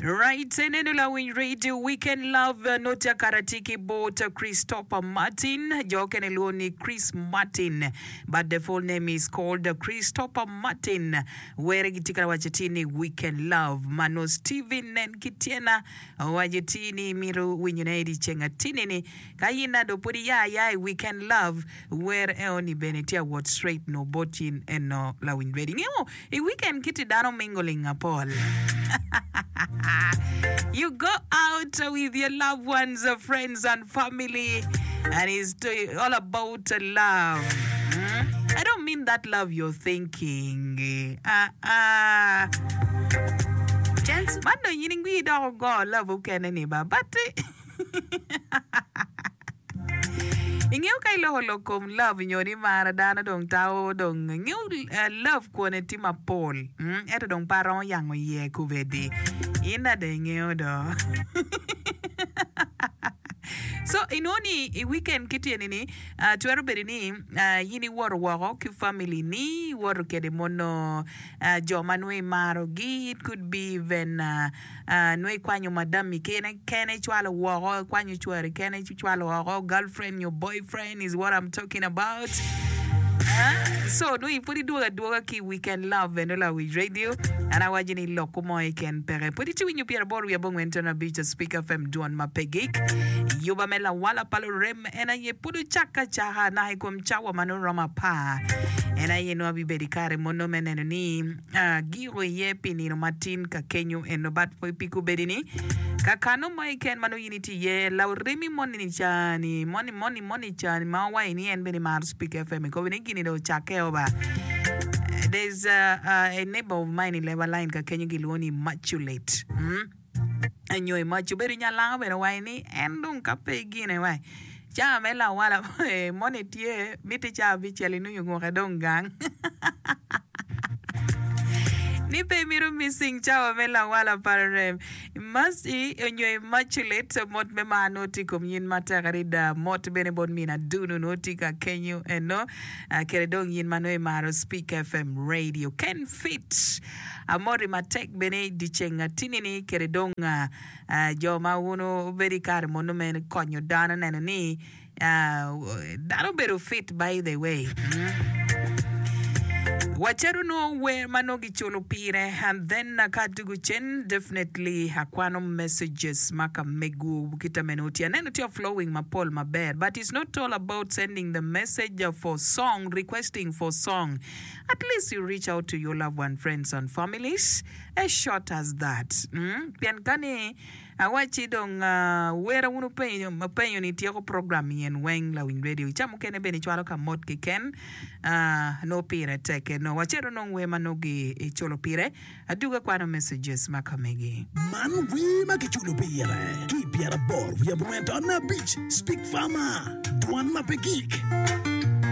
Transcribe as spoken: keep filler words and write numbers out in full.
Right, eneno lawiny radio weekend love notya karati ki bot Christopher Martin. Jo kene luo ni Chris Martin, but the full name is called Christopher Martin. Were gitye ka waco ti ni weekend love. Mano Steven nen ki tyena owaco ti ni mito winyone i dyeceng atini ni ka in ado pud iya aya i weekend love wer eoni bene tye awot straight no bot in eno lawiny radio. Ingeyo i weekend kiti dano mingling apol. You go out with your loved ones, friends, and family, and it's to- all about love. Mm? I don't mean that love you're thinking. Ah, ah. Man dong in ingwi dok ogo love okene ni ba but ingeyo ka iloko lok kom love nyo ni mara dano dong tao dong ingeyo uh, love kwone tye mapol mm? ento dong pe aromo yango iye kubedi in ade ingeyo do so inwongo ni i weekend kityeni ni uh, twero bedo ni uh, in iwoto woko ki family ni iwoto kede mono uh, jo ma nongo imarogi it could be even uh, uh, nongo ikwanyo madami kene kene icwalo woko ikwanyo cwari kene icwalo woko girlfriend your boyfriend is what I'm talking about Uh, so nongo pud idwogo adwoga ki weekend love eno lawiny radio an awaco ni lok mo keken peke pud itye winyo pyeraboro wiye abongwen ton abic Speak FM dwon ma pe gik yuba me lawala pa lurem en aye pud ocak acaka naka i kom cawa ma nongo romo apar en aye nongo abibedo i kare mono me neno ni uh, giko iye pi nino matin ka kenyo eno but pi kubedi ni kakano mo keken ma nongo in itye iye laremi moni ni cani moni moni moni cani ma owaco ni en bene maro Speak FM ikobi ni gini dong ocakke o ba There's uh, uh, a neighbor of mine in Leba Line ka kenyo gilwongo ni Immaculate. Mm? Nyo Immaculate bedo nyalango bene owaco ni en dong ka pe gine wai cawa me lawala moni tye miti cawa abicel inongo ngwoke dong gang ni pe mito missing cawa me lawala pa rem Mercy onyo Immaculate mot me mar nongo tye i kom yin matek adada mot bene bot min adunu nongo tye ka kenyo eno uh, kede dong yin ma nongo imaro Speak FM radio Ken Fit amoti matek bene dyeceng atini ni kede dong uh, uh, jo ma wun obedo i kare mono me konyo dano neno ni uh, dano obedo fit by the way mm. Wacito nongo wer ma nongo giculo pire and then ka adugo cen definitely akwano messages ma ka mego kita meno tye aneno tye flowing mapol maber but it's not all about sending the message for song requesting for song at least you reach out to your loved one friends and families as short as that mm? pien kani awaci dong uh, wera wun openyo openyo ni tyeko program yen weng lawiny radio ca mukene bene icwalo ka mot keken uh, no pire teke no wacito nong wer ma nongo giculo pire aduga kwano messages ma kamegi Man wer ma kiculo pire ki pyeraboro wiye abongwen ton abic Speak Farmer dwan ma pe gik